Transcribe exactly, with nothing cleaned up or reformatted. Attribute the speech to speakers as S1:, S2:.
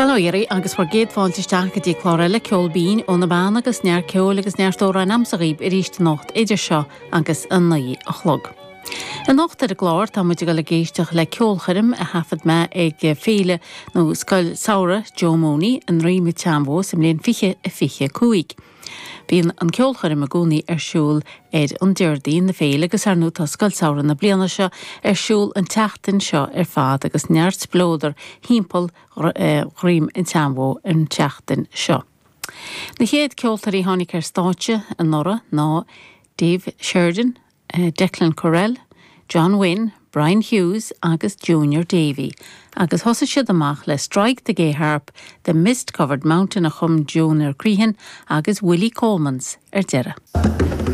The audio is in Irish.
S1: Bail ó Dhia oraibh agus bhur gcéad fáilte isteach go dtí clár eile Ceol Binn ó na Beanna agus neart ceoil agus neart amhrán agamsa dhaoibh arís anocht idir seo agus a naoi a chlog. Anocht ar an gclár tá muid ag dul ag éisteacht le ceolchoirm a thaifead mé ag féile nó scoil samhraidh Joe Mooney i nDroim an tSeanbhó sa mbliain fiche a fiche cúig. Bíonn an ceolchoirm i gcónaí ar siúl ar an Déardaoin na féile agus ar ndóigh tá scoil samhraidh na bliana seo ar siúl an tseachtain seo ar fad agus neart spleodar timpeall Dhroim an tSeanbhó an tseachtain seo. Na chéad ceoltóirí tháinig ar stáitse anuraidh ná Dave Sheridan, Declan Correll, John Wynne, Brian Hughes agus Junior Davy, agus thosaigh siad amach le Strike the Gay Harp, The Mist-Covered Mountain a chum Junior Crehan agus Willie Colemans ar deireadh.